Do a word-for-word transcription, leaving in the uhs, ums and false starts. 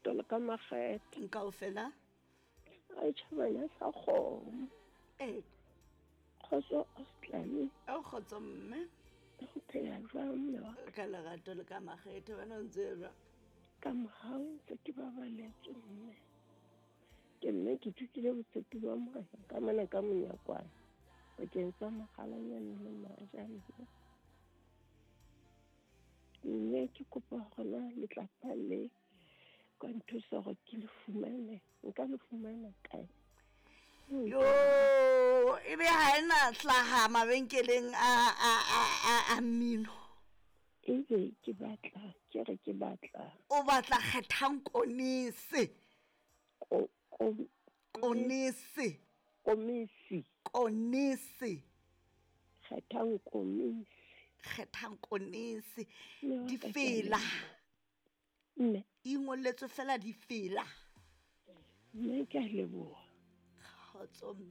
lerato le ka makgethe. Kaofela. A tjhabana sa kgomo. Ee. Kgotso Auslane. O kgotso mme. O phela jwang mme wa ka? Ka lerato le ka makgethe, wena o ntse jwang? Ka mohau ntse ke babaletswe mme. Ke mme ke thutile botshepi ba Morena ka mona ka monyakwana bakeng sa mokgalanyane le maja mme. Mme ke kopa hore na letlapa le ka nthusa hore ke le fumane, nka le fumana kae? Yo, ebe ha ena hlaha mabenkeleng a a a a a mmino. Ebe ke batla, ke re ke batla. O batla kgethang konese. Ko, ko, Konese. Komisi. Konese. Kgethang komisi. Kgethang konese. Mme wa ka ke a Difela. leboha. Mme. Ingolletswe fela difela. Mme ke a leboha. Kgotso.